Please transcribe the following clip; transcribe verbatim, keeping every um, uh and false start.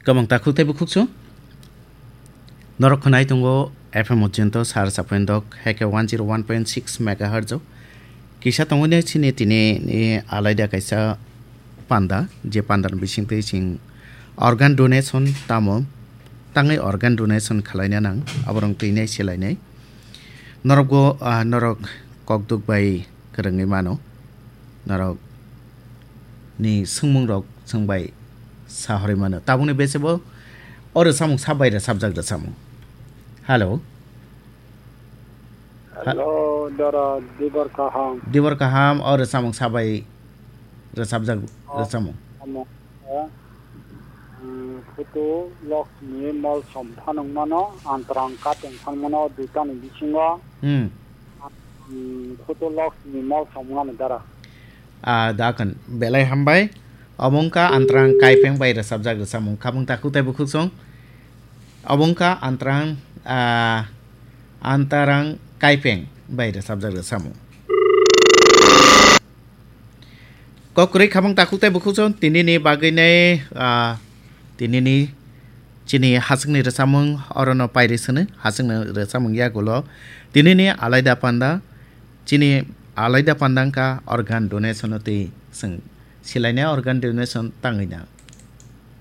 Kwbang takhuk tei bukhuk chwng. Norok khwnai tongo F M Ujjayanta sar saphendok heke one zero one point six megahertz o. Kisa tongo ne chini tini ni alaida kaisa panda, je panda ni bising twi chwng organ donation tamo, tangwi organ donation khwlaina nang, aborok twi nai selainai. Norok bo, ah, norok kokduk bai kwrwngwi mano. Norok ni swngmung rok chwng bai sa horwi mano. Tabukni bese bo o rwchapmung sa bai rwchapjak rwchapmung. Hello. Hello, dara, dibor kaham. Dibor kaham, o rwchapmung sa bai rwchapjak rwchapmung. Amo, eh, mm, photo loks ni mol som phanang mano, antrang kateng phan mano, duita ni bisingo. Hmm. Mm, photo loks ni mol som mano dara. Ah, dakhan, belai hambai. Omo wngkha Antrang Kaipeng bai rwchapjak rwchapmung. Khabung takhuk tei bukhuk chwng. Omo wngkha Antrang, ah, Antarang Kaipeng bai rwchapjak rwchapmung. Kok kwrwi khabung takhuk tei bukhuk chwng tini ni bagwi nai, ah, tini ni chini haswkni rwchapmung orono pairi swnwi, haswkni rwchapmung yagulo tini ni alaida panda. Chini alaida panda wngkha organ donation o twi chwng silainai organ donation tangwi nang.